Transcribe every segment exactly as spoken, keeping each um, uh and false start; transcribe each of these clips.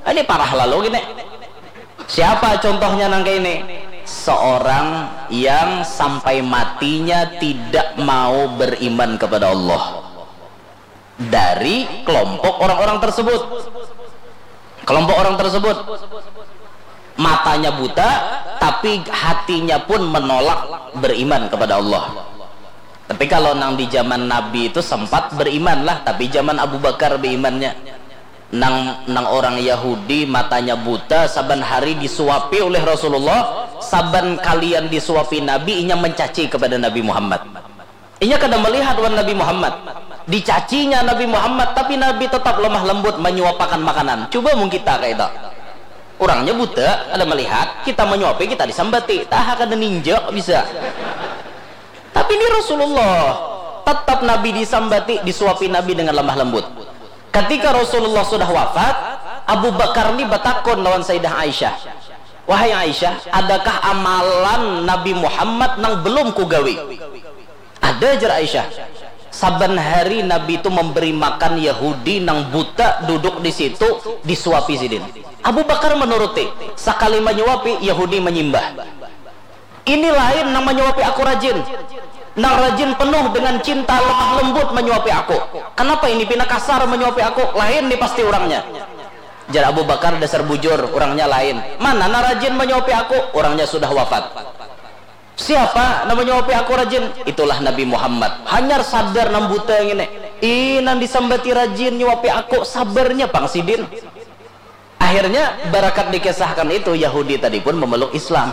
Ini parah lalu gini. Siapa contohnya nang kayak ini? Seorang yang sampai matinya tidak mau beriman kepada Allah. Dari kelompok orang-orang tersebut. Kelompok orang tersebut matanya buta, tapi hatinya pun menolak beriman kepada Allah. Tapi kalau nang di zaman Nabi itu sempat beriman lah, tapi zaman Abu Bakar berimannya. Nang nang orang Yahudi matanya buta, saban hari disuapi oleh Rasulullah, saban kalian disuapi Nabi, inya mencaci kepada Nabi Muhammad. Inya kada melihat wan Nabi Muhammad. Dicacinya Nabi Muhammad, tapi Nabi tetap lemah lembut menyuapakan makanan. Coba mung kita kayak itu. Orangnya buta, kada melihat, kita menyuapi, kita disambati. Taha kada ninjak bisa. Tapi ini Rasulullah, tetap Nabi disambati, disuapi Nabi dengan lemah lembut. Ketika Rasulullah sudah wafat, Abu Bakar ni batakun lawan Sayyidah Aisyah, "Wahai Aisyah, adakah amalan Nabi Muhammad nang belum kugawi?" "Ada," jar Aisyah. "Saban hari Nabi itu memberi makan Yahudi nang buta duduk di situ, disuapi sidin." Abu Bakar menuruti, sakali menyuapi, Yahudi menyimbah. "Ini lain nang menyuapi aku rajin. Nang rajin penuh dengan cinta lemah lembut menyuapi aku. Kenapa ini pina kasar menyuapi aku? Lain ni pasti orangnya." Jar Abu Bakar, "Dasar bujur, orangnya lain." "Mana nang rajin menyuapi aku?" "Orangnya sudah wafat." "Siapa nang menyuapi aku rajin?" "Itulah Nabi Muhammad." Hanyar sadar nang buta ngini. "Ih, nang disambati rajin nyuapi aku, sabarnya pang sidin." Akhirnya, barakat dikisahkan itu, Yahudi tadi pun memeluk Islam.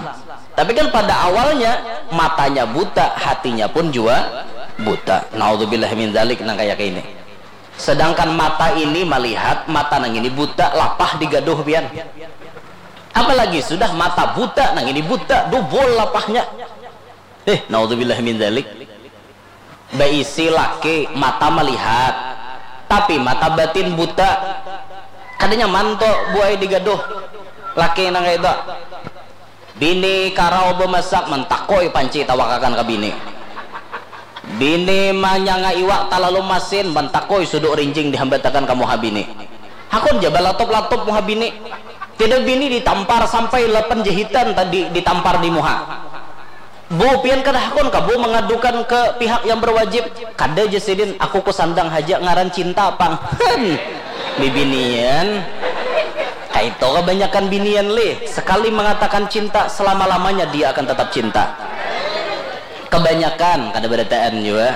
Tapi kan pada awalnya, matanya buta, hatinya pun jua buta. Naudzubillah min dzalik, nang kaya ini. Sedangkan mata ini melihat, mata nang ini buta, lapah digaduh pian. Apalagi sudah mata buta, nang ini buta, dubul lapahnya. Eh, naudzubillah min dzalik. Baisi laki, mata melihat, tapi mata batin buta. Kada nyaman tu buai digaduh. Laki nang kaya itu. Bini karau bemasak, mantakoi panci tawakakan ka bini. Bini manyanga iwak talalu masin, mantakoi suduk rinjing dihambatakan ka muha bini. Hakun ja balatup-latup muha bini. Tidak, bini ditampar sampai lapan jahitan tadi ditampar di muha. "Bu, pian kada hakun kah, Bu, mengadukan ke pihak yang berwajib?" "Kada ja sidin, aku kusandang haja, ngaran cinta pang." Hen, bibinian. Kaitu kebanyakan binian lih, sekali mengatakan cinta, selama-lamanya dia akan tetap cinta. Kebanyakan, kada barataan jua.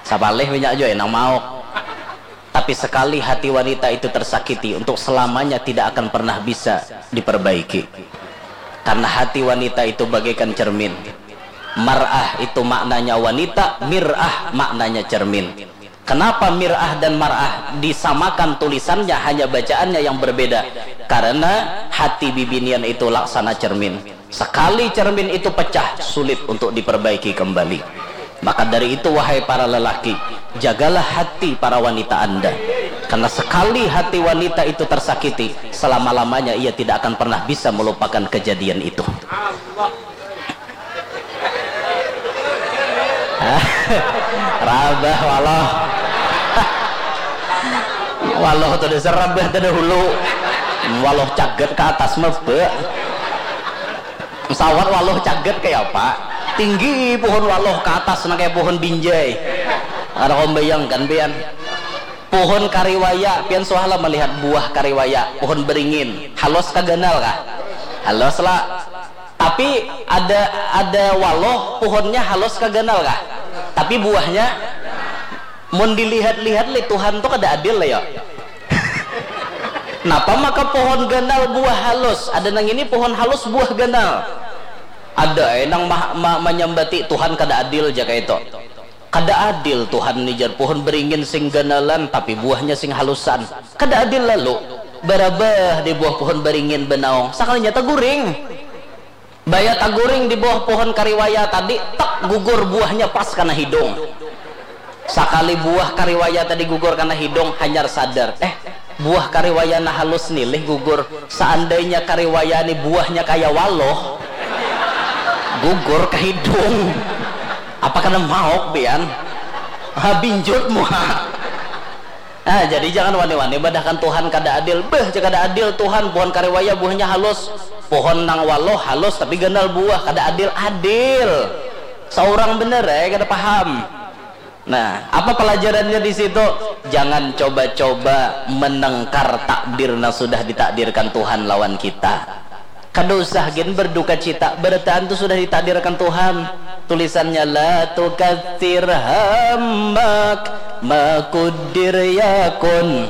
Sapalih banyak jua nang mauk. Tapi sekali hati wanita itu tersakiti, untuk selamanya tidak akan pernah bisa diperbaiki. Karena hati wanita itu bagaikan cermin. Mar'ah itu maknanya wanita, mir'ah maknanya cermin. Kenapa mir'ah dan mar'ah disamakan tulisannya, hanya bacaannya yang berbeda? Karena hati bibinian itu laksana cermin. Sekali cermin itu pecah, sulit untuk diperbaiki kembali. Maka dari itu, wahai para lelaki, jagalah hati para wanita Anda. Karena sekali hati wanita itu tersakiti, selama-lamanya ia tidak akan pernah bisa melupakan kejadian itu. Rabah waluh. Waluh tu dasar rabah tadahulu. Waluh cagat ke atas mebe. Pesawat waluh cagat kaya apa? Tinggi pohon waluh ke atas nang kaya pohon binjai. Kada kawa membayangkan pian. Pohon kariwaya, pian suah lah melihat buah kariwaya, pohon beringin. Halus kah ganal kah? Halus lah. Tapi ada ada waluh pohonnya halus kah ganal kah? Tapi buahnya mun dilihat-lihat lih Tuhan tu kada adil lah ya. Napa maka pohon ganal buah halus? Ada nang ini pohon halus buah ganal. Ada ai nang ma, ma, manyambati Tuhan kada adil ja kaitu. Kada adil Tuhan ni jar, pohon beringin sing ganalan tapi buahnya sing halusan. Kada adil lalu. Barabah di buah pohon beringin banaung, sakalinya taguring. Baya taguring di bawah pohon kariwaya tadi, tek, gugur buahnya pas kana hidung. Sakali buah kariwaya tadi gugur kana hidung, hanyar sadar, eh, buah kariwaya nah halus ni lih gugur. Seandainya kariwaya ni buahnya kaya waluh, gugur ka hidung, apa kada mauk pian? Ha, binjut muha. Nah, jadi jangan wani-wani badahkan Tuhan kada adil. Beuh, kada adil Tuhan, pohon kariwaya buahnya halus. Pohon nang waluh halus tapi ganal buah, kada adil. Adil. Saurang bener, eh, kada paham. Nah, apa pelajarannya di situ? Jangan coba-coba menengkar takdir yang sudah ditakdirkan Tuhan lawan kita. Kada usah gin berduka cita, barataan tu sudah ditakdirkan Tuhan. Tulisannya, "La tukatsir hammak, makudir yakun."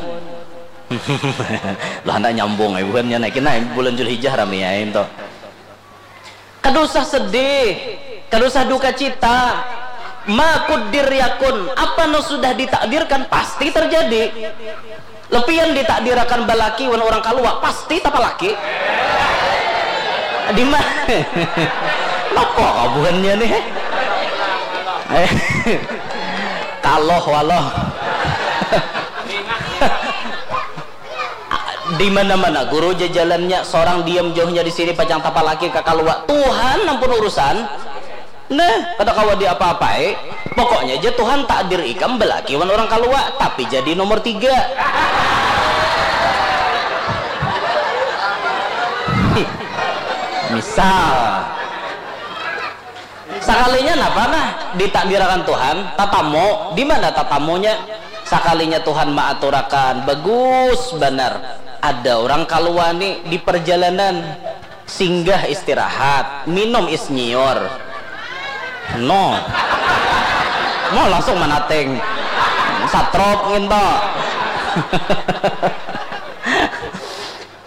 Lah, handak nyambung ai buhannya, naikin ai bulan Julhijjah rami ai tu. Kada usah sedih, kada usah duka cita. Makudir yakun, apa nu sudah ditakdirkan pasti terjadi. Lepian ditakdirakan balaki wan urang kalua, pasti tapalaki. Di mana? Napa kabuhannya nih? Kaloh waloh. Di mana-mana guru jajalannya, seorang diam jauhnya di sini pacang tapalaki ka kalua. Tuhan ampun urusan. Nah, kada kawa diapa-apai. Pokoknya aja Tuhan takdir ikam belaki wan orang kalua, tapi jadi nomor tiga. Misal, sakalinya napa nah ditakdirakan Tuhan, tatamu, di mana tatamunya? Sakalinya Tuhan maaturakan, bagus banar. Ada orang kalua nih di perjalanan. Singgah istirahat, minum is nyiur. No. Mau langsung manating. Satrop nginto.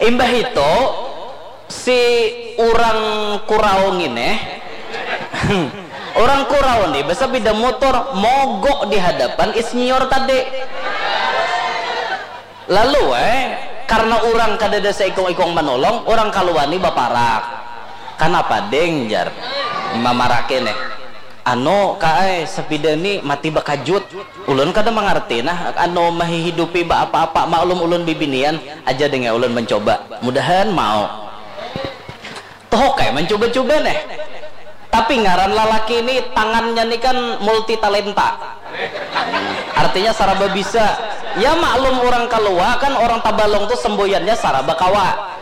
Imbah itu, si urang kurau ngini, urang kurau nih besepeda motor mogok di hadapan is nyiur tadi. Lalu eh, karena urang kadada seikung-ikung manolong, urang kaluani baparak. Kanapa ding, jar mamarake neh. Anu ka ai, sapida ni mati bakajut. Ulun kada mangarti nah anu mahihidupi baapa-apa, maklum ulun bibinian. Aja ding ai ulun mancoba, mudahan mau. Toh oke, mancuba-cuba neh. Tapi ngaran lalaki ni tangannya ni kan multi talenta. Artinya saraba bisa. Ya maklum orang kalua kan orang Tabalong tu semboyannya saraba kawa.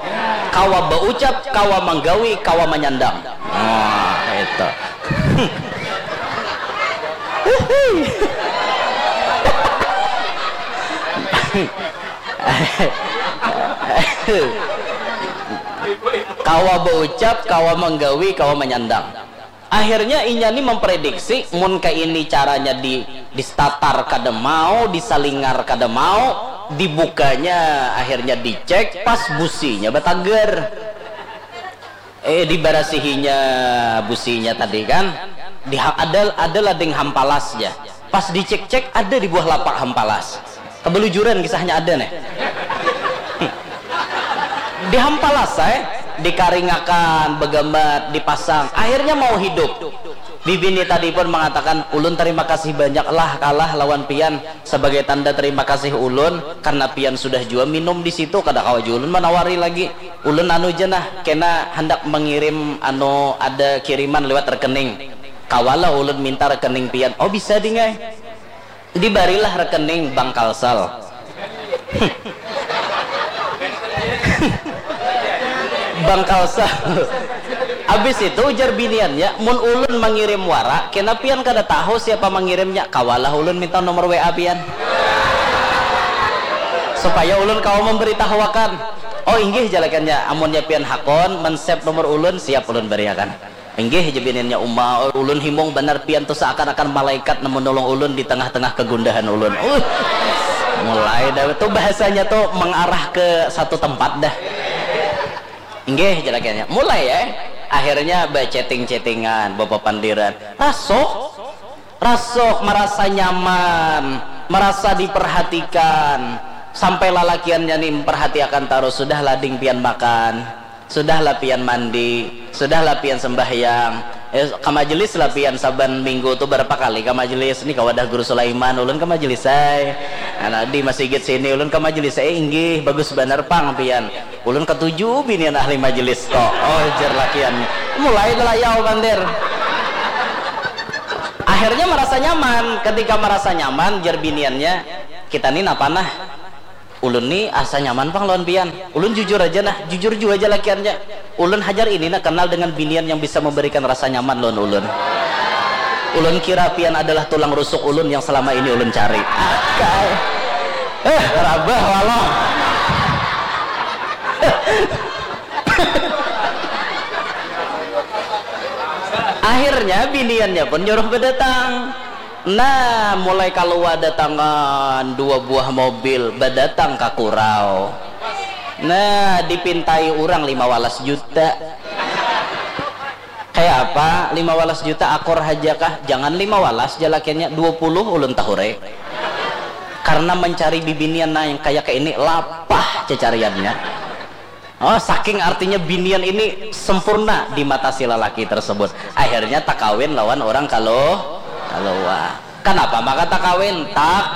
Kawa baucap, kawa manggawi, kawa manyandang. Nah, itu. Kawa baucap, kawa manggawi, kawa manyandang. Akhirnya inya ni memprediksi mun kaini caranya di distatar kada mau, disalingar kada mau, dibukanya akhirnya dicek pas businya batagar. Eh, dibarasihinya businya tadi kan. Di ada ada lading hampalas ja. Pas dicek-cek ada di buah lapak hampalas. Kebelujuran kisahnya ada nih. Dihampalas saya, dikaringakan, begamat, dipasang. Akhirnya mau hidup. Bibini tadi pun mengatakan, ulun terima kasih banyak lah kalah lawan pian. Sebagai tanda terima kasih ulun karena pian sudah jua minum di situ, kada kawa jua ulun manawari lagi. Ulun anu ja nah, kena handak mengirim anu ada kiriman lewat rekening. Kawalah ulun minta rekening pian. Oh bisa ding ai. Dibarilah rekening Bank Kalsel. Bank Kalsel. Habis itu ujar biniannya, mun ulun mangirim wara, kena pian kada tahu siapa mangirimnya, kawalah ulun minta nomor W A pian. Supaya ulun kawa memberitahuakan. Oh inggih jalakannya, amunnya pian hakon, men-save nomor ulun, siap ulun bariakan. Inggih ja bininnya uma, ulun himung banar pian tu seakan-akan malaikat nang menolong ulun di tengah-tengah kegundahan ulun. Uh, mulai dah tu bahasanya tu mengarah ke satu tempat dah. Inggih jalakannya. Mulai ya. Akhirnya ba-chatting-chattingan, bapapandiran. Rasuk, rasuk, merasa nyaman, merasa diperhatikan. Sampai lalakiannya ni memperhatiakan tarus, sudah lading pian makan. Sudahlah pian mandi, sudahlah pian sembahyang, eh, ka majelis lah pian saban minggu tu berapa kali ka majelis, ni ka wadah guru Sulaiman, ulun ka majelis ai, anak di masigit sini ulun ka majelis ai, inggih, bagus banar pang pian, ulun katuju binian ahli majelis ko, oh jar lakian, mulai layau pandir. Akhirnya merasa nyaman, ketika merasa nyaman jar biniannya, Kita ni napa nah? Ulun ni asa nyaman pang lawan pian. Ulun jujur aja nah, jujur jua jalakiannya. Ulun hajar ini nah kenal dengan binian yang bisa memberikan rasa nyaman lawan ulun. Ulun kira pian adalah tulang rusuk ulun yang selama ini ulun cari. Akai. Eh, rabah walah. Akhirnya biniannya pun nyuruh berdatang. Nah, mulai kalua datangan dua buah mobil badatang ka Kurau. Nah, dipintai urang lima walas juta. Kayak apa? Lima walas juta akor haja kah? Jangan lima walas jalakiannya, dua puluh ulun tahure. Karena mencari bibinian nah yang kayak ini lapah cecariannya. Oh, saking artinya binian ini sempurna di mata si lelaki tersebut. Akhirnya takawin lawan orang kalau kalua. Kenapa maka takawin? Tak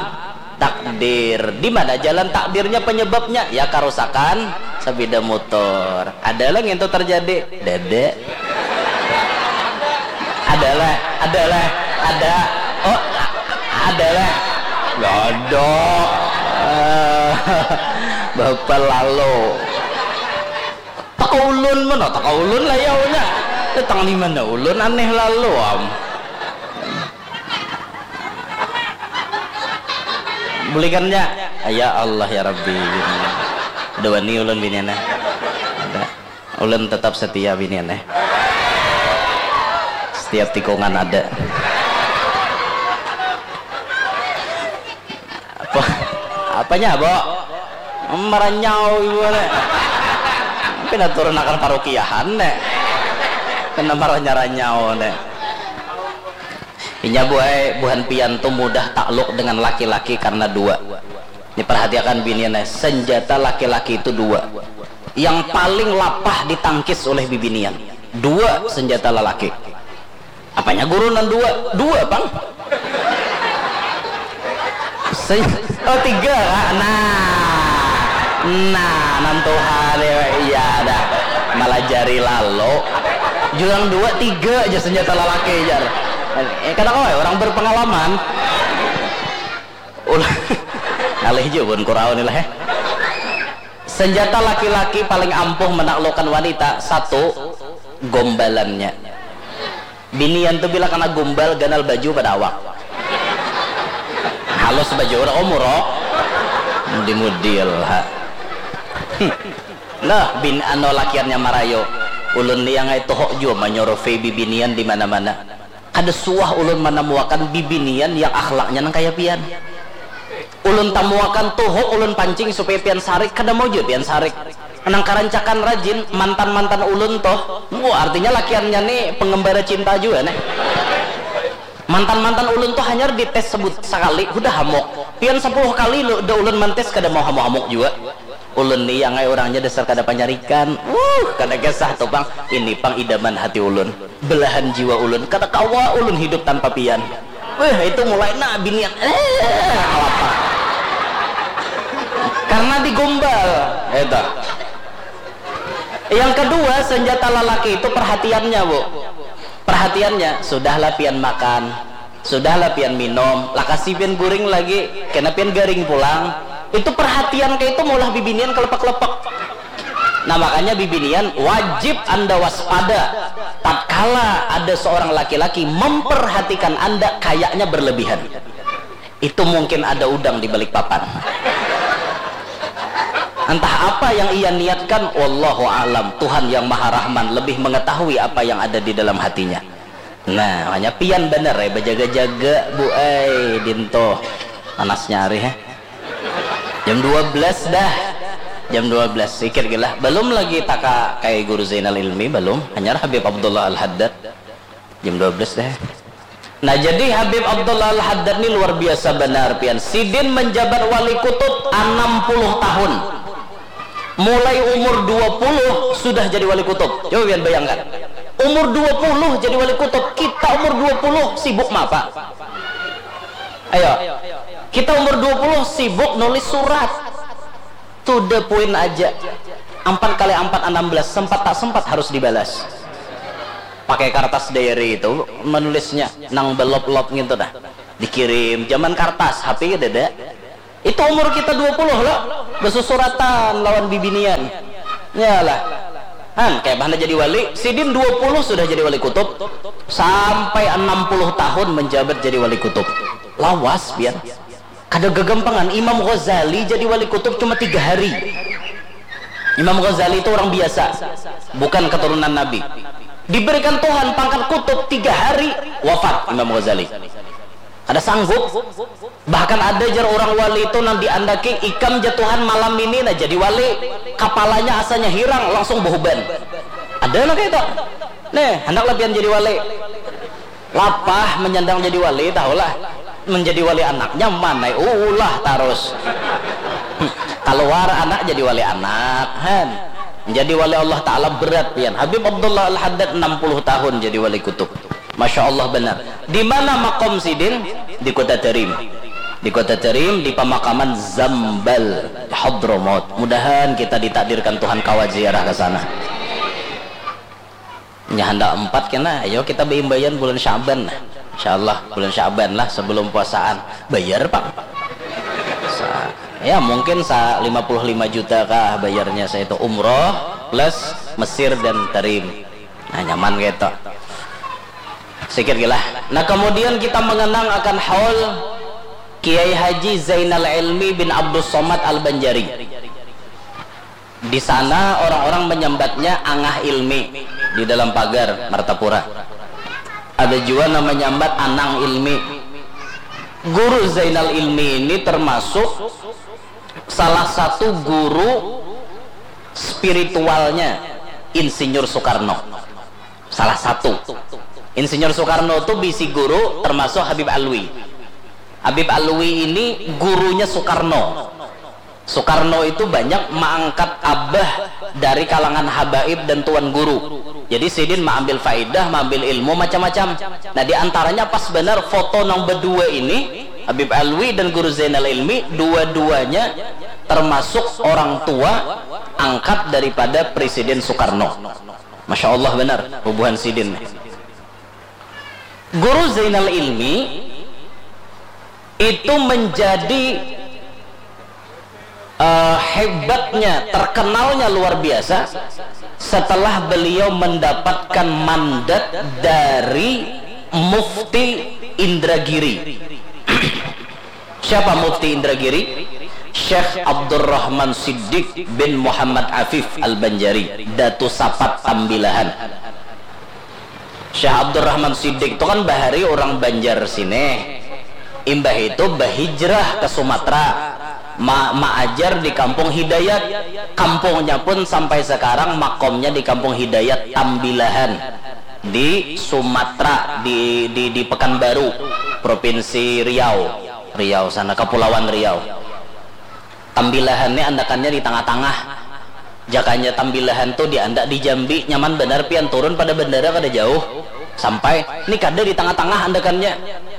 takdir. Di mana jalan takdirnya penyebabnya? Ya karusakan sepeda motor. Ada lagi yang terjadi? Dede. Adalah, adalah, ada. Oh, adalah. Godo. Eh, Bapak lalu. Takaulun mana? Takaulun lah ya unya. Datang di mana ulun aneh lalu am. Bulikannya. Ya Allah ya Rabbi. Dua ni ulun biniannya. Ada. Ulun tetap setia binian eh. Setiap tikungan ada. Apa? Apanya, Bo? Maranyau ibu ne. Pina turun akan parukiahan ne. Kena maranyaranyau ne. Inya buai buhan pian tu mudah takluk dengan laki-laki karena dua. Ini perhatiakan binian eh. Senjata laki-laki itu dua. Yang paling lapah ditangkis oleh bibinian. Dua senjata lelaki. Apanya guru nan dua? Dua pang. Se- oh tiga kak. Nah, nah, nantuhan ya, iya dah. Malajari lalu. Jurang dua tiga aja senjata lelaki jar. Eh, kada kau ya, orang berpengalaman. Ulah ngalih jua bun kurau ni lah eh. Senjata laki-laki paling ampuh menaklukkan wanita satu, gombalannya. Binian tu bila kena gombal ganal baju pada awak. Halus baju orang umur oh. Mudi-mudi lah. Nah, bin ano lakiannya marayo. Ulun ni yang itu hok jua manyuruh bibinian di mana-mana. Kada suah ulun manamuakan bibinian yang akhlaknya nang kaya pian. Ulun tamuakan tuhuk ulun pancing supaya pian sarik, kada mau jua pian sarik. Nang karancakan rajin, mantan-mantan ulun toh. Wah, artinya lakiannya ni pengembara cinta jua neh. Mantan-mantan ulun toh hanyar dites sebut sakali, hudah hamuk. Pian sepuluh kali lo, da ulun mantes kada mau hamuk-hamuk jua. Ulun ni yang ai urangnya dasar kada panyarikan. Wuh, kada kisah tu pang. Ini pang idaman hati ulun. Belahan jiwa ulun. Kada kawa ulun hidup tanpa pian. Weh, itu mulai nah binian. Eh, alapa. Karena digombal. Itu. Yang kedua, senjata lelaki itu perhatiannya, Bu. Perhatiannya, sudahlah pian makan. Sudahlah pian minum, lakasi pian guring lagi, kena pian garing pulang. Itu perhatian kayak itu maulah bibinian kelepek-lepek. Nah, makanya bibinian wajib Anda waspada tatkala ada seorang laki-laki memperhatikan Anda kayaknya berlebihan. Itu mungkin ada udang di balik papan. Entah apa yang ia niatkan, wallahu alam. Tuhan yang Maha Rahman lebih mengetahui apa yang ada di dalam hatinya. Nah, hanya pian bener eh, bajaga-jaga, Bu ai, dinto. Panasnya hari eh. Jam dua belas dah. Jam dua belas, sikit gila. Belum lagi taka kai Guru Zainal Ilmi, belum. Hanyar Habib Abdullah Al-Haddad. Jam dua belas dah. Nah, jadi Habib Abdullah Al-Haddad ni luar biasa benar, pian. Sidin menjabat wali kutub enam puluh tahun. Mulai umur dua puluh sudah jadi wali kutub. Coba pian bayangkan. Umur dua puluh jadi wali kutub. Kita umur dua puluh sibuk apa? Ayo. Kita umur dua puluh sibuk nulis surat. To the point aja. Empat kali empat enam belas, sempat tak sempat harus dibalas. Pakai kertas diary itu menulisnya, nang belop-lop gitu dah. Dikirim, zaman kertas, H P kada ada. Itu umur kita dua puluh lo, besusuratan lawan bibinian. Yalah. Han, kayak mana jadi wali? Sidin dua puluh sudah jadi wali kutub. Sampai enam puluh tahun menjabat jadi wali kutub. Lawas, biar. Kada gegampangan. Imam Ghazali jadi wali kutub cuma tiga hari. Imam Ghazali itu orang biasa, bukan keturunan Nabi. Diberikan Tuhan pangkat kutub, tiga hari wafat Imam Ghazali. Kada sanggup. Bahkan ada jar orang wali itu nang diandaki, ikam ja Tuhan malam ini nah jadi wali, kapalanya asanya hirang, langsung behuban. Ada nang kayak itu. Nih, hendaklah pian jadi wali. Lapah menyandang jadi wali, tahulah. Menjadi wali anak nyaman ai, ulah tarus. Keluar anak jadi wali anak, han. Menjadi wali Allah Ta'ala berat pian. Habib Abdullah Al-Haddad enam puluh tahun jadi wali kutub. Masya Allah benar. Di mana makom sidin? Di Kota Tarim. Di Kota Tarim, di pemakaman Zambal, Hadramaut. Mudahan kita ditakdirkan Tuhan kawa ziarah ke sana. Nya handak empat kena, ayo kita beimbaian bulan Syaban lah. Insya Allah bulan Syaban lah sebelum puasaan. Bayar pang. Sa- ya mungkin sa lima puluh lima juta kah bayarnya, saya itu umroh plus Mesir dan Tarim. Nah, nyaman gitu. Sikit gila. Nah, kemudian kita mengenang akan haul Kiai Haji Zainal Ilmi bin Abdus Somad Al-Banjari. Di sana orang-orang menyambatnya Angah Ilmi di dalam pagar Martapura. Ada juga nama nyambat Anang Ilmi. Guru Zainal Ilmi ini termasuk salah satu guru spiritualnya Insinyur Soekarno. Salah satu. Insinyur Soekarno itu bisi guru termasuk Habib Alwi. Habib Alwi ini gurunya Soekarno. Soekarno itu banyak mengangkat abah dari kalangan habaib dan tuan guru. Jadi sidin mengambil faidah, mengambil ilmu macam-macam. Nah, di antaranya pas benar foto nang berdua ini, Habib Alwi dan Guru Zainal Ilmi, dua-duanya termasuk orang tua angkat daripada Presiden Soekarno. Masya Allah benar, bubuhan sidin. Guru Zainal Ilmi itu menjadi eh, hebatnya, terkenalnya luar biasa setelah beliau mendapatkan mandat dari Mufti Indragiri. Siapa Mufti Indragiri? Syekh Abdurrahman Siddiq bin Muhammad Afif Al-Banjari, Datu Sapat Tambilahan. Syekh Abdurrahman Siddiq tu kan bahari urang Banjar sini. Imbah itu bahijrah ka Sumatera, ma- maajar di Kampung Hidayat. Kampungnya pun sampai sekarang makomnya di Kampung Hidayat Tambilahan, di Sumatera, di di di Pekanbaru, Provinsi Riau. Riau sana, Kepulauan Riau. Tambilahan ni andakannya di tangah-tangah. Jakanya Tambilahan tu diandak di Jambi, nyaman banar pian turun pada bandara kada jauh. Sampai ni kada di tangah-tangah andakannya.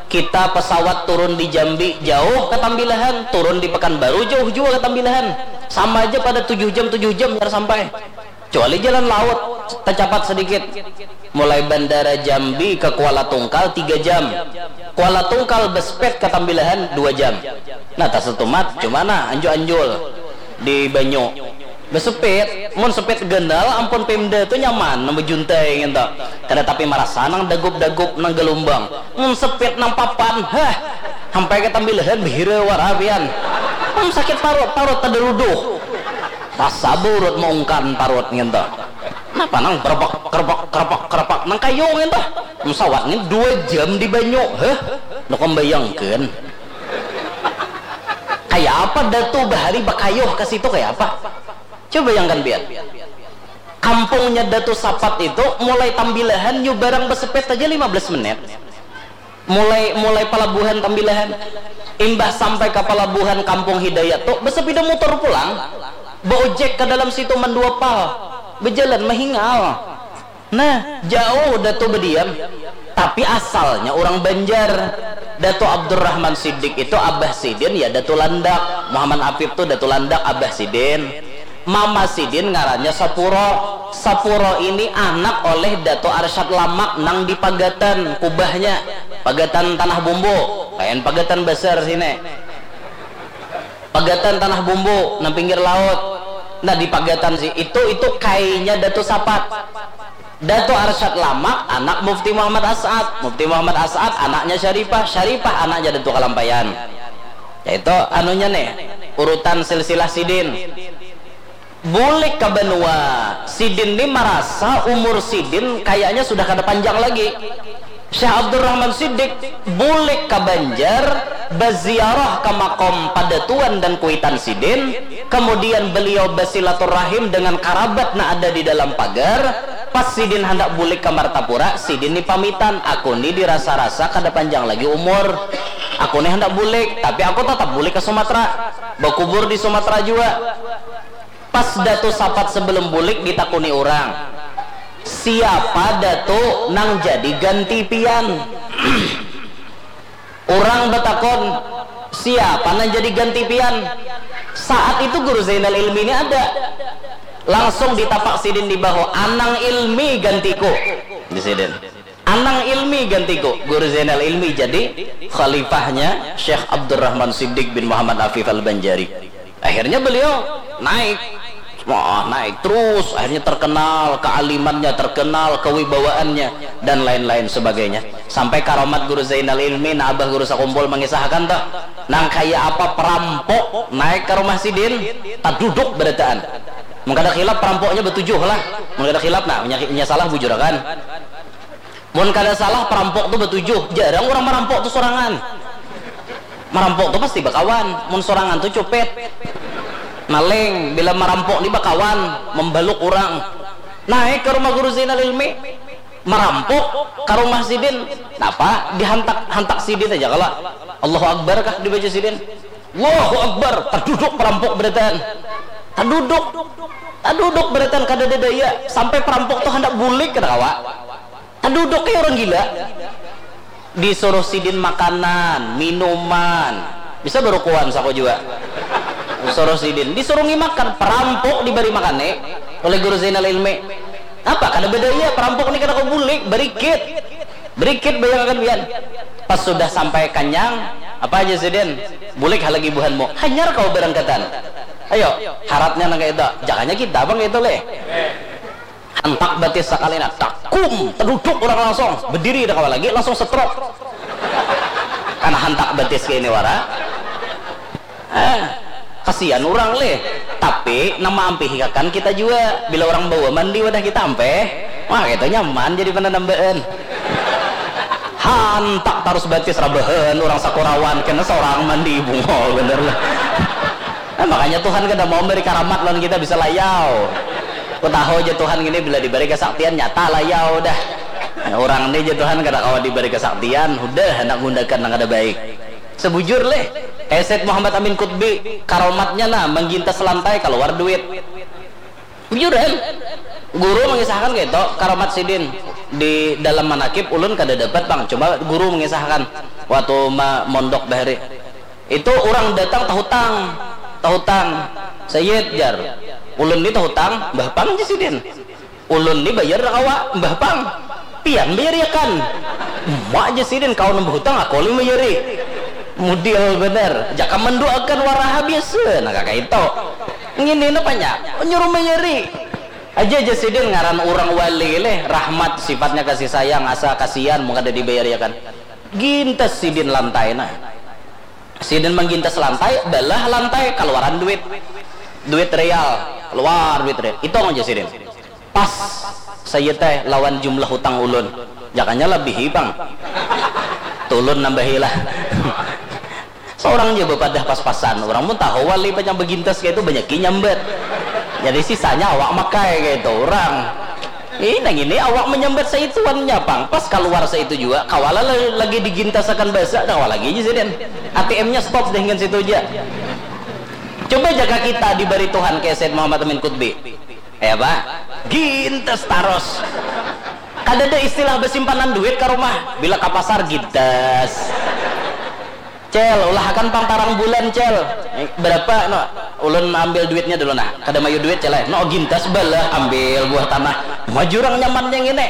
Kita pesawat turun di Jambi jauh ke Tambilahan, turun di Pekanbaru jauh jua ke Tambilahan. Sama aja pada tujuh jam, tujuh jam biar sampai. Kecuali jalan laut, tercapat sedikit. Mulai Bandara Jambi ke Kuala Tungkal tiga jam. Kuala Tungkal besepit ke Tambilahan dua jam. Nah, tasatumat cuma nah anjul-anjul di banyu. Besepit, mun sepit ganal ampun Pemda tu nyaman nang bejuntai ngintu. Kada tapi marasa nang dagup-dagup nang galumbang. Mun sepit nang papan, hah, sampai ke Tambilahan behira wara pian. Mun sakit parut, parut tadaruduh. Rasa burut maungkan parut ngintu. Napa nang kerepak kerepak kerepak kerepak nang kayu ngintu. Pesawat ni dua jam di banyu, heh. Nukam bayangkan. Kaya apa datu bahari bakayuh ke situ kaya apa? Coba bayangkan biar. Kampungnya Datu Sapat itu mulai Tambilahan nyu barang besepet aja lima belas menit. Mulai mulai pelabuhan Tambilahan, imbah sampai ke pelabuhan Kampung Hidayat tu, bersepeda motor pulang, beojek ke dalam situ mandua pal, bejalan mehingal. Nah, jauh Datu bediam. Tapi asalnya orang Banjar. Datu Abdurrahman Siddiq itu abah sidin ya Datu Landak. Muhammad Afif tu Datu Landak abah sidin. Mama sidin ngarannya Sapuro. Sapuro ini anak oleh Datu Arsyad Lamak nang di Pagatan kubahnya, Pagatan Tanah Bumbu, lain Pagatan Besar sini. Pagatan Tanah Bumbu, nang pinggir laut. Nah, di Pagatan si itu, itu kainya Datu Sapat. Datu Arsyad Lamak, anak Mufti Muhammad As'ad. Mufti Muhammad As'ad, anaknya Syarifah. Syarifah, anaknya Datu Kalampayan. Ya, itu anunya nih, urutan silsilah sidin. Bulik ka banua, sidin ni marasa umur sidin kayaknya sudah kada panjang lagi. Syekh Abdurrahman Siddiq bulik ka Banjar, baziarah ka makom padatuan dan kuitan sidin, kemudian beliau basilaturahim dengan karabat nang ada di dalam pagar. Pas sidin handak bulik ka Martapura, sidin ni pamitan, "Aku ni dirasa-rasa kada panjang lagi umur. Aku ni handak bulik, tapi aku tatap bulik ka Sumatera, bakubur di Sumatera jua." Pas Datu Sapat sebelum bulik ditakuni urang, "Siapa Datu nang jadi ganti pian?" Urang batakun, "Siapa nang jadi ganti pian?" Saat itu Guru Zainal Ilmi ini ada. Langsung ditapak sidin di bahu, "Anang Ilmi gantiku," di sidin. "Anang Ilmi gantiku." Guru Zainal Ilmi jadi khalifahnya Syekh Abdurrahman Siddiq bin Muhammad Afif Al-Banjari. Akhirnya beliau naik. Wah, naik terus, akhirnya terkenal kealimannya, terkenal kewibawaannya, dan lain-lain sebagainya. Sampai karomat Guru Zainal Ilmi, nah, Abah Guru Sakumpul mengisahkan tuh, nang kaya apa perampok naik ke rumah sidin, taduduk berataan. Mun kada khilaf, perampoknya batujuh lah. Mun kada khilaf, nah, nya, nya salah bujurakan. Mun kada salah, perampok tu batujuh. Jarang urang marampok tu sorangan. Marampok tu pasti bakawan. Mun sorangan tu cupit. Maling, bila marampok ni bakawan, mambaluk urang. Naik ka rumah Guru Zainal Ilmi. Marampok ka rumah sidin. Napa? Dihantak, hantak sidin aja kalo. Allahu Akbar kah dibaca sidin? Allahu Akbar. Taduduk perampok berataan. Taduduk. Taduduk berataan, kadada daya. Sampai perampok tu handak bulik, kada kawa. Taduduk kaya urang gila. Disuruh sidin makanan, minuman. Bisa barukuan saku jua. Suruh sidin, disurungi makan, perampok dibari makan ni oleh Guru Zainal Ilmi. Apa? Kada badaya, perampok ni kada kawa bulik, barikit. Barikit, bayangkan pian. Pas sudah sampai kanyang, apa aja sidin? "Bulik ha lagi buhanmu." Hanyar kawa barangkatan. Ayo, haratnya nang kaya itu. Jakanya kita pang kaya itu leh. Hantak batis sakali nah, takum, taduduk urang langsung, badiri kada kawa lagi, langsung stroke. Karena hantak batis kaya ini wara. Ah, kasian urang leh. Tapi nang maampihiakan kita jua. Bila urang bawa mandi wadah kita ampih, wah, kita nyaman jadi pananambaan. Hantak tarus batis rabahan, urang sakurawan kena sorang mandi, bungol banar lah. Nah, makanya Tuhan kada mau memberi karamat lawan kita bisa layau. Ku tahu aja Tuhan ini bila diberi kesaktian nyata layau dah. Nah, urang ni aja Tuhan kada kawa diberi kesaktian, hudah handak gundakan nang kada baik. Sebujur leh, kayak Said Muhammad Amin Kutbi, karomatnya nah menggintas lantai keluar duit. Bujuran. Guru mengisahkan gitu, karamat sidin. Di dalam manakib ulun kada dapat pang, cuma guru mengisahkan waktu ma- mondok bahari. Itu urang datang tahutang, tahutang. "Sayyid," jar, "ulun ni tahutang, mbah pang," jar sidin. "Ulun ni bayar kawa, mbah pang. Pian bayariakan." "Uma," jar sidin, "kawa nang bahutang, aku ulun bayari." Mudil banar. Jaka manduakan waraha biasa, nah kaka itu. Ngini napanya, nyuruh mayari. Aja jar sidin ngaran urang wali leh, rahmat sifatnya kasih sayang, asa kasian mun kada dibayariakan. Gintas sidin lantai nah. Sidin manggintas lantai, balah lantai, kaluaran duit. Duit real, keluar duit real. Hitung aja sidin. Pas saya teh lawan jumlah hutang ulun. Jakanya labihi pang. Tulun nambahi lah. Seorang ja bapadah pas-pasan. Orang pun tahu wali banyak begintas kayak itu, banyak nyambat. Jadi sisanya awak makai kayak itu orang. Ini nang ini awak menyambat saituannya pang. Pas keluar saitu juga, kawala la- lagi digintasakan basa, dah kawa lagi aja sidin. A T M-nya stop dengan situ aja. Coba jaga kita diberi Tuhan kayak Said Muhammad Amin Kutbi. Ya, Pak? Gintas taros. Kada ada istilah bersimpanan duit ke rumah. Bila ke pasar, gintas. Cel, ulahakan pang tarang bulan, Cel. Eh, berapa, no? Ulun ambil duitnya dulu, nah. Kada mayu duit, Cel, eh. No, gintas balah, ambil buah tanah. Maju orang nyaman yang ini.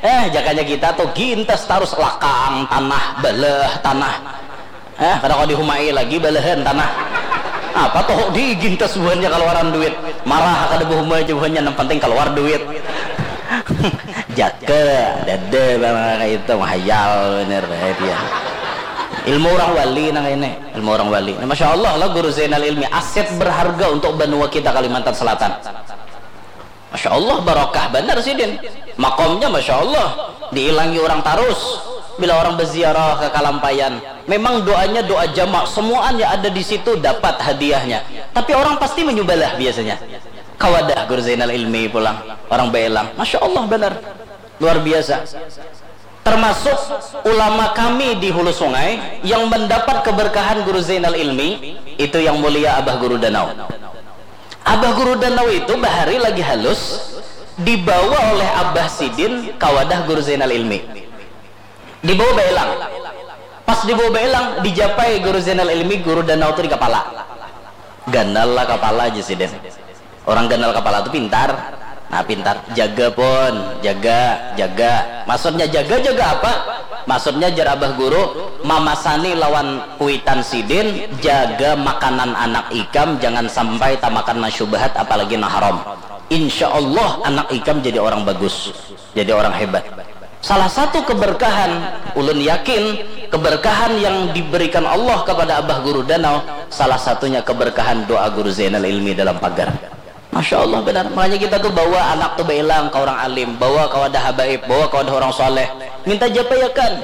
Eh, jakanya kita tuh gintas tarus lakang, tanah, balah, tanah. Eh, kada kau dihumai lagi balahan tanah. Apa toh diigin tas buhannya kaluaran duit? Marah kada bahuma aja buhannya, nang penting keluar duit. Jaka dada bang kayak itu, mahayal bener bae dia. Ilmu orang wali nang ini, ilmu orang wali. Nah, Masya Allah lah Guru Zainal Ilmi, aset berharga untuk benua kita Kalimantan Selatan. Masya Allah, barokah banar sidin. Makomnya Masya Allah, diilangi orang tarus. Bila orang berziarah ke Kalampayan, memang doanya doa jamak, semuanya ada di situ dapat hadiahnya. Tapi orang pasti menyubalah biasanya. Kawadah Guru Zainal Ilmi pulang, orang belang. Masya Allah banar, luar biasa. Termasuk ulama kami di Hulu Sungai yang mendapat keberkahan Guru Zainal Ilmi, itu yang mulia Abah Guru Danau. Abah Guru Danau itu bahari lagi halus, dibawa oleh Abah Sidin ka wadah Guru Zainal Ilmi. Dibawa baelang. Pas dibawa baelang, dijapai Guru Zainal Ilmi, Guru Danau tu di kapala. Ganal lah kapala aja Sidin. Orang ganal kapala tu pintar. Nah, pintar. Jaga pun, jaga, jaga. Maksudnya jaga, jaga apa? Maksudnya jar Abah Guru, mamasani lawan kuitan Sidin, jaga makanan anak ikam, jangan sampai tamakan nang syubhat apalagi nang haram. Insya Allah anak ikam jadi orang bagus, jadi orang hebat. Salah satu keberkahan, ulun yakin keberkahan yang diberikan Allah kepada Abah Guru Danau, salah satunya keberkahan doa Guru Zainal Ilmi dalam pagar. Masya Allah benar. Makanya kita tuh bawa anak tuh bailang ke orang alim, bawa ke wadah habaib, bawa ke wadah orang soleh, minta japaiakan.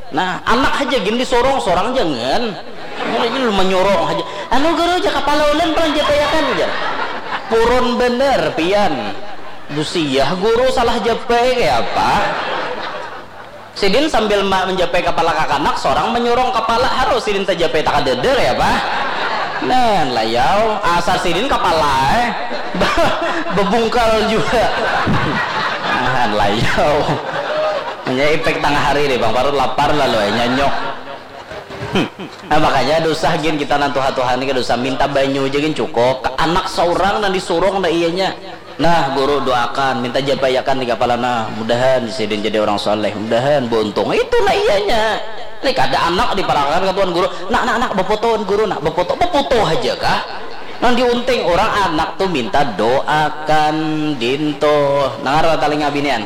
Nah, anak aja gin disorong, sorang jangan. Ini lu menyorong aja. Anu guru aja kapala ulun paling japaiakan aja. Purun bener pian. Busiah guru salah japai kayak apa? Sidin sambil ma- menjapai kepala kakanak, seorang menyurung kepala harus sidin tajapai takadada kayak apa? Nah, layau asal sidin kepala eh bebungkal juga. Nah, layau. Punya efek tengah hari deh bang, parut lapar lalu eh nyanyok. Nah, makanya dosa gin kita nang tuha-tuha ni kada usah minta banyu aja gin cukup. Anak seorang nang disurung dah iyanya. Nah, guru doakan, minta japaiakan di kepala nah, mudahan sidin jadi orang soleh, mudahan buntung. Itu nah iyanya. Ini kada anak diparakan ke tuan guru. Nak, nak, nak, befoto wan guru, nak, befoto, befoto aja kah? Nang diunting orang anak tuh minta doakan dinto. Nangar talinga binian.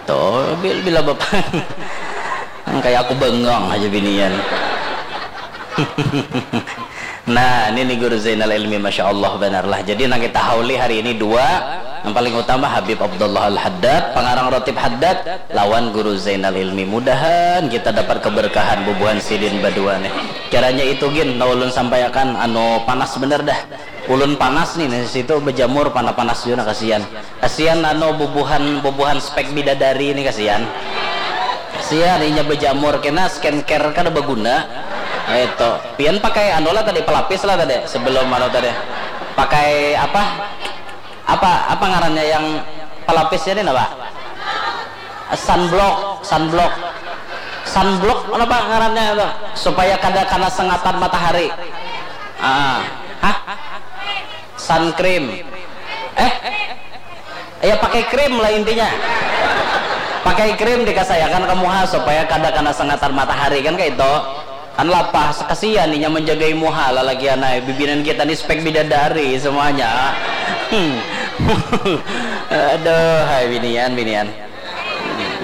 Tuh, bil- bila bapak kayak aku bengang aja binian. Nah, ini nih Guru Zainal Ilmi, Masya Allah benar lah. Jadi nang kita hauli hari ini dua, yang paling utama Habib Abdullah Al-Haddad, pengarang Rotib Haddad, lawan Guru Zainal Ilmi. Mudahan kita dapat keberkahan bubuhan sidin badua nih. Kiranya itu gin, nang ulun sampaiakan, anu panas bener dah. Ulun panas nih, nih situ bejamur panas-panas juga kasihan. Kasihan anu bubuhan bubuhan spek bidadari ini kasihan. Kasihan inya bejamur kena skincare kada baguna. Itu. Pian pakai anu lah tadi pelapis lah tadi sebelum anu tadi. Pakai apa? Apa apa ngarannya yang pelapisnya ini apa? Sunblock, sunblock. Sunblock kenapa ngarannya itu? Supaya kada kena sengatan matahari. Ah. Hah? Sun cream. Eh? Ya pakai krim lah intinya. Pakai krim dikasayakan ke muha supaya kada kena sengatan matahari kan kayak itu. Kan lapah sekesian inya menjagai muha lalakian ai. Bibinan kita ni spek bidadari semuanya. Hmm. Aduh, hai binian, binian.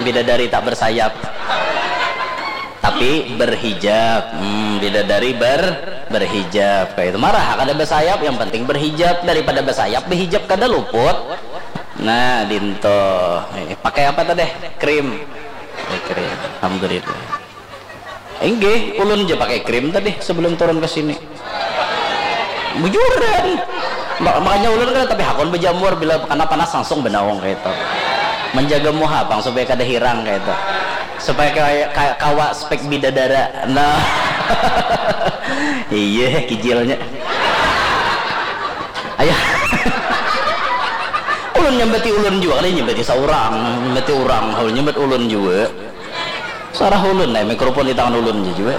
Bidadari tak bersayap. Tapi berhijab. Hmm, bidadari ber berhijab kayak itu. Marah kada bersayap, yang penting berhijab, daripada bersayap berhijab kada luput. Nah, dinto. Eh, pakai apa tadi? Krim. Eh, krim. Alhamdulillah. Inggih, ulun aja pakai krim tadi sebelum turun ke sini. Bujuran. Mak- makanya ulun kan tapi hakun bejamur bila kena panas langsung benaung kayak itu. Menjaga muha pang supaya kada hirang kayak itu. Supaya kayak kayak kawa spek bidadara. Nah. Iya, kijilnya. Ayah. Ulun nyambati ulun juga kali nyambati seorang, nyambati orang, ulun nyambat ulun juga. Sarah ulun nih, mikrofon di tangan ulun aja juga.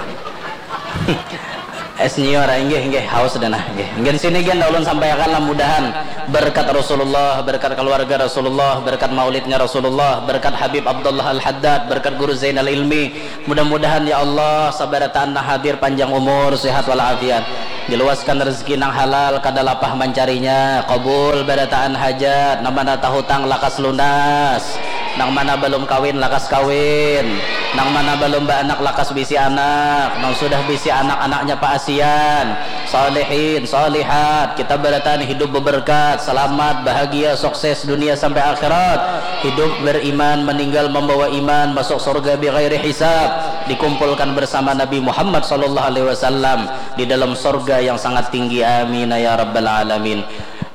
Es nyior, inggih, inggih, haus dah nah, inggih. Inggih sini gen ulun sampaikan lah mudahan berkat Rasulullah, berkat keluarga Rasulullah, berkat maulidnya Rasulullah, berkat Habib Abdullah Al-Haddad, berkat Guru Zainal Ilmi. Mudah-mudahan ya Allah sabarataan nang hadir panjang umur, sehat walafiat. Diluaskan rezeki nang halal, kada lapah mancarinya, kabul barataan hajat, nang mana tahutang lakas lunas, nang mana balum kawin lakas kawin, nang mana balum baanak lakas bisi anak, nang sudah bisi anak, anaknya paasian, salihin, salihat, kita barataan hidup beberkat, salamat, bahagia, sukses dunia sampai akhirat, hidup beriman, meninggal membawa iman, masuk surga bighairi hisab, dikumpulkan bersama Nabi Muhammad sallallahu alaihi wasallam di dalam sorga yang sangat tinggi. Amin ya rabbal alamin.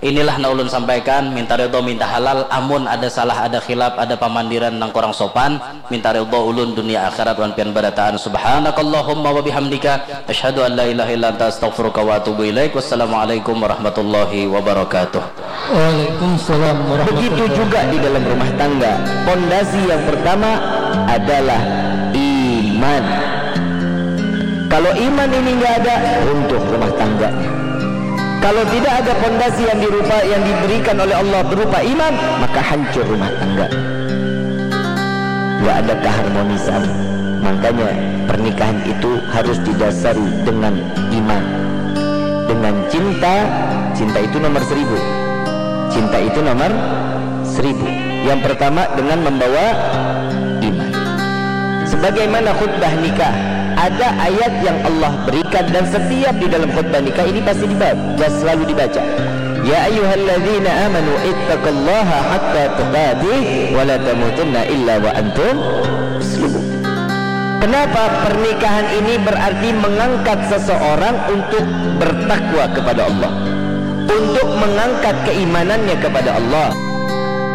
Inilah na ulun sampaikan, minta ridho, minta halal. Amun ada salah, ada khilaf, ada pamandiran nang kurang sopan, minta ridho ulun dunia akhirat wan pian barataan. Subhanakallahumma wa bihamdika, asyhadu an la ilaha illa anta, astaghfiruka wa atubu ilaik. Wassalamualaikum warahmatullahi wabarakatuh. Waalaikumsalam warahmatullahi. Begitu juga di dalam rumah tangga. Pondasi yang pertama adalah iman. Kalau iman ini nggak ada, runtuh rumah tangganya. Kalau tidak ada pondasi yang dirupa yang diberikan oleh Allah berupa iman, maka hancur rumah tangga. Nggak ada keharmonisan. Makanya pernikahan itu harus didasari dengan iman. Dengan cinta, cinta itu nomor seribu. Cinta itu nomor seribu. Yang pertama dengan membawa iman. Sebagaimana khutbah nikah, ada ayat yang Allah berikan dan setiap di dalam khutbah nikah ini pasti dibaca, selalu dibaca. Ya ayyuhalladzina amanu ittaqullaha haqqa tuqatih wa la tamutunna illa wa antum muslimun. Kenapa pernikahan ini berarti mengangkat seseorang untuk bertakwa kepada Allah, untuk mengangkat keimanannya kepada Allah?